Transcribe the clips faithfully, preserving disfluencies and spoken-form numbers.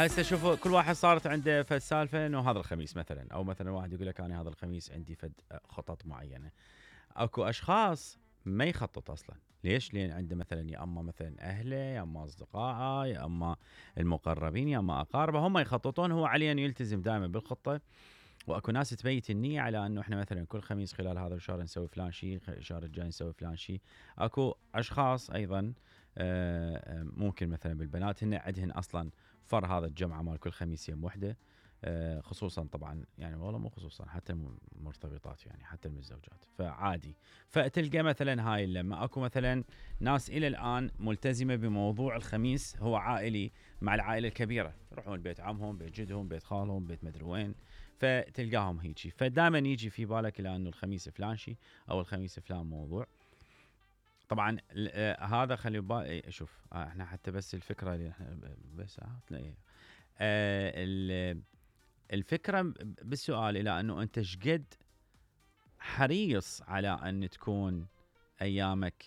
هسه شوفوا كل واحد صارت عنده فد سالفه انه هذا الخميس مثلا، او مثلا واحد يقول لك انا هذا الخميس عندي فد خطط معينه. اكو اشخاص ما يخطط اصلا. ليش؟ لان عنده مثلا يا اما مثلا اهله يا اما اصدقائه يا اما المقربين يا اما اقاربه هم يخططون، هو عليه ان يلتزم دائما بالخطه. واكو ناس تبيت النيه على انه احنا مثلا كل خميس خلال هذا الشهر نسوي فلان شيء، الشهر الجاي نسوي فلان شيء. اكو اشخاص ايضا ممكن مثلا بالبنات هن عندهن اصلا فر هذا الجمعه مال كل خميس يوم وحده، خصوصا طبعا يعني والله مو خصوصا حتى المرتبطات يعني حتى المتزوجات فعادي. فتلقى مثلا هاي لما اكو مثلا ناس الى الان ملتزمه بموضوع الخميس هو عائلي مع العائله الكبيره، يروحون بيت عمهم بيت جدهم بيت خالهم بيت مدري وين، فتلقاهم هيجي. فدائما يجي في بالك الى انه الخميس فلان شيء او الخميس فلان موضوع. طبعا هذا خلي بالك شوف احنا حتى بس الفكره اللي احنا بس آه الفكره بالسؤال الى انه انت شقد حريص على ان تكون ايامك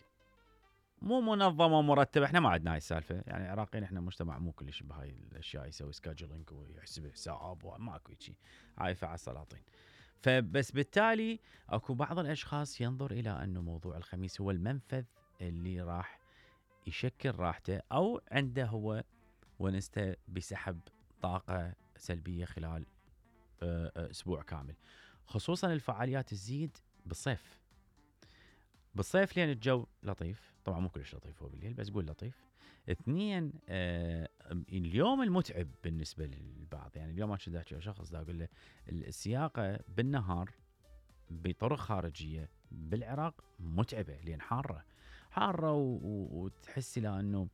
مو منظمه ومرتبه. احنا ما عندنا هاي السالفه يعني العراقيين احنا مجتمع مو كلش بهاي الاشياء، يسوي سكادجولينج ويحسب حساب وماكو شيء عايفه على السلاطين. فبس بالتالي اكو بعض الاشخاص ينظر الى انه موضوع الخميس هو المنفذ اللي راح يشكل راحته او عنده هو ونسته بسحب طاقه سلبيه خلال اسبوع كامل. خصوصا الفعاليات تزيد بالصيف. بالصيف لان الجو لطيف، طبعا مو كلش لطيف هو بالليل بس قول لطيف. اثنين آه اليوم المتعب بالنسبه للبعض، يعني اليوم ما كنت احكي شخص دا اقول له السياقه بالنهار بطرق خارجيه بالعراق متعبه لان حاره حاره وتحس الى انه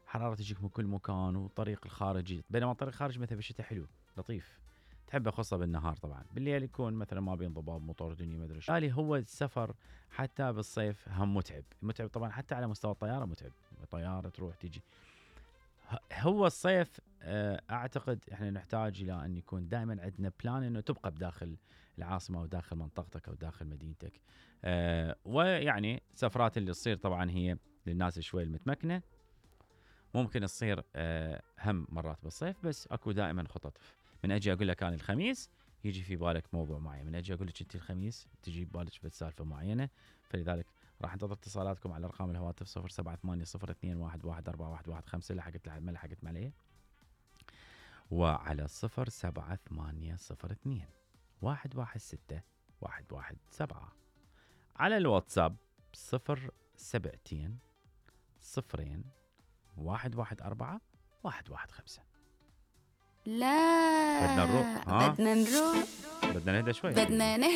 حراره تجيك من كل مكان وطريق الخارجي، بينما الطريق الخارجي مثلا بالشتاء حلو لطيف تحبه خاصه بالنهار. طبعا بالليل يكون مثلا ما بين ضباب موتور دنيا ما ادري ايش. بالتالي هو السفر حتى بالصيف هم متعب متعب طبعا حتى على مستوى الطياره متعب، طياره تروح تيجي. هو الصيف اعتقد احنا نحتاج الى ان يكون دائما عندنا بلان انه تبقى بداخل العاصمه وداخل منطقتك او داخل مدينتك. أه ويعني سفرات اللي تصير طبعا هي للناس شوي المتمكنه ممكن تصير أه هم مرات بالصيف، بس اكو دائما خطط. من اجي اقول لك انا الخميس يجي في بالك موضوع معين، من اجي اقول لك انت الخميس تجي ببالك سالفه معينه. فلذلك راح انتظر اتصالاتكم على ارقام الهواتف صفر سبعة ثمانية صفر اثنين واحد واحد أربعة واحد واحد خمسة لحقت ما لحقت عليه، وعلى صفر سبعة ثمانية صفر اثنين واحد واحد ستة واحد واحد سبعة على الواتساب صفر سبعتين صفرين واحد واحد أربعة واحد واحد خمسة. لا بدنا نروح ها بدنا نروح بدنا نهدى شوي بدنا نهدى